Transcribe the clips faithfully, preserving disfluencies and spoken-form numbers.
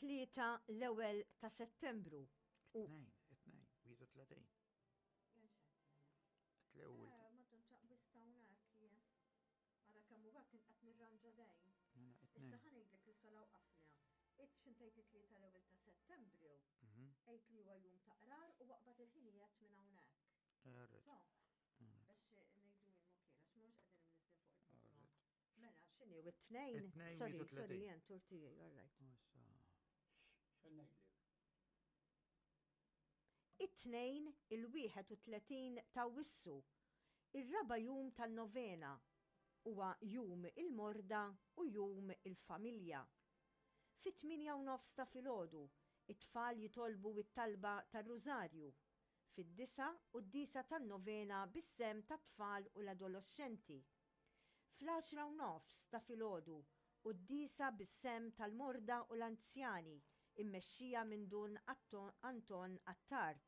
It-Tlieta l-ewwel ta' Settembru. U Tnejn, it-tnejn, wieħed u tletin. L-ewwel. Ara kemm huwa kien qed nirranġa dejn. Mela, Issa it-tnejn. ħa ngħidlek li salaw qafna. It xintajt it-tlieta l-ewwel ta' Settembru, Mhm. għid li huwa jum ta' qrar u waqbad il-ħinijiet minn hawnhekk. Alright, So, biex ngħidu il-mokien, għax mhux qegħdin imniżlin fuq il-programm. alright. Mela, x'inhi u it-tnejn? It-tnejn, Sorry, wieħed u sorry, tletin. jien tur tiegħi, all right. Issa. X'ngħidlek? It-tnejn il-wieħed u tletin ta' Awwissu, ir-raba' jum tan-novena, huwa jum il-morda u jum il-familja. Fit-tmienja u nofs ta' filgħodu, it-tfal jitolbu it-talba tar-Rużarju. Fid-disgħa quddiesa tan-novena bis-sehem tat-tfal u l-adolescenti. Fl-għaxra u nofs ta' filgħodu, quddiesa bis-sehem tal-morda u l-anzjani, immexxija minn Dun Atto- Anton Attard.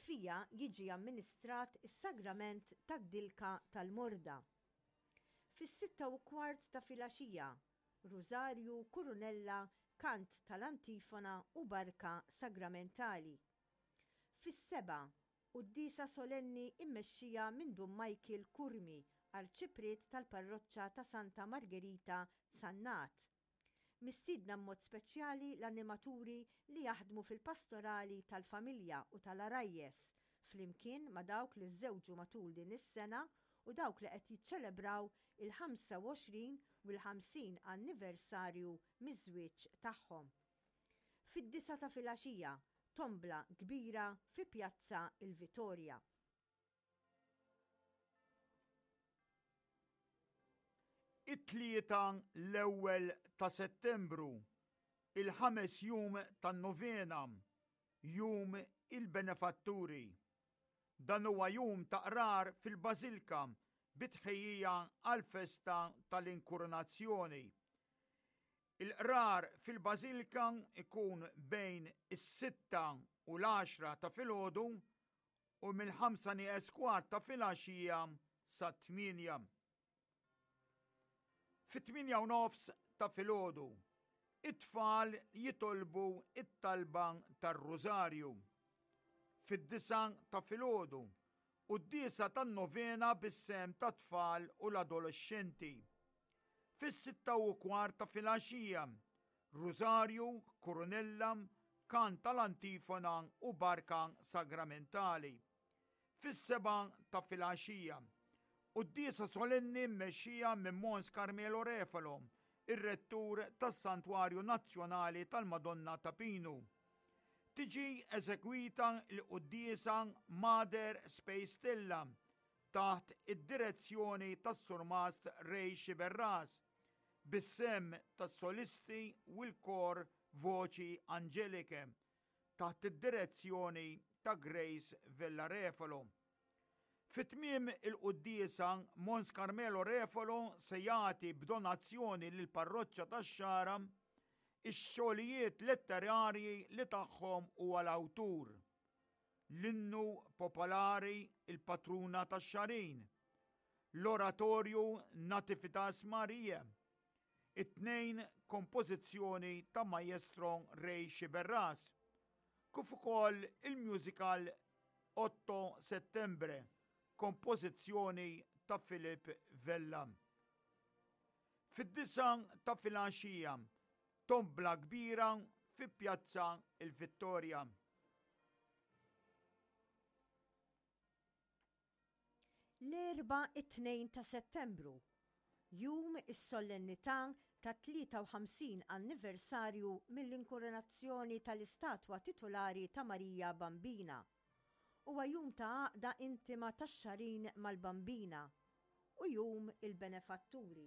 Fiha jiġi amministrat is-sagrament tad-dilka tal-morda. Fis-sitta u kwart ta' filgħaxija, Rużarju, Kurunella, kant tal-antifona u barka sagramentali. Fis-sebgħa, quddiesa solenni immexxija minn Dun Michael Curmi, arċipriet tal-parroċċa ta' Santa Margherita Sannat. Mistiedna mod speċjali l-animaturi li jaħdmu fil-pastorali tal-familja u tal-għarajjes, flimkien ma' dawk li żżewġu matul din is-sena u dawk li qed jiċċelebraw il-ħamsa u għoxrin u l-ħamsin anniversarju miż-żwieġ tagħhom. Fid-disgħa ta' filgħaxija, tombla kbira fi Pjazza il-Vitorja. It-Tlieta l-ewwel ta' Settembru, il-ħames jum tan-novena, jum il-benefatturi. Dan huwa jum ta' qrar fil-Bażilka bi tħejjija għall-festa tal-Inkurunazzjoni. Il-qrar fil-Bażilka ikun bejn is-sitta u l-għaxra ta' filgħodu u mill-ħamsa nieqes kwart ta' filgħaxija sa tmienja. Fit-tmienja u nofs ta' filgħodu, it-tfal jitolbu it-talba tar-Rużarju. Fid-disgħa ta' filgħodu, quddiesa tan-novena bis-sehem tat-tfal u l-adolescenti. Fis-sitta u kwart ta' filgħaxija, Rużarju, Kurunella, kant tal-antifona u barka sagramentali. Fis-sebgħa ta' filgħaxija, quddiesa solenni mmexxija minn Mons Carmelo Refalo, ir-rettur tas-Santwarju Nazzjonali tal-Madonna ta' Pinu. Tiġi eżegwita l-quddiesa Mater Spei Stella taħt id-direzzjoni tas-Surmast Ray Sciberras, bis-sehem tas-solisti u l-kor Voci Angeliche taħt id-direzzjoni ta' Grace Vella Refalo. Fit-tmiem il-quddiesa, Mons Carmelo Refalo se jagħti b'donazzjoni lill-parroċċa tax-Xagħra ix-xogħlijiet letterarji li tagħhom huwa l-awtur. L-innu popolari Il-Patruna tax-Xagħrin, l-oratorju Nativitas Maria, it-tnejn kompożizzjoni ta' Maestro Ray Sciberras, kif ukoll il-musical Otto Settembre, kompożizzjoni ta' Filip Vella. Fid-disgħa ta' filgħaxija, tombla kbira fi Pjazza il-Vittoria. L-Erbgħa it-tnejn ta' Settembru, jum is-solennità ta' tlieta u ħamsin anniversarju mill-inkoronazzjoni tal-istatwa titolari ta' Marija Bambina. Huwa jum ta' għaqda intima tax-Xagħrin mal-Bambina u jum il-benefatturi.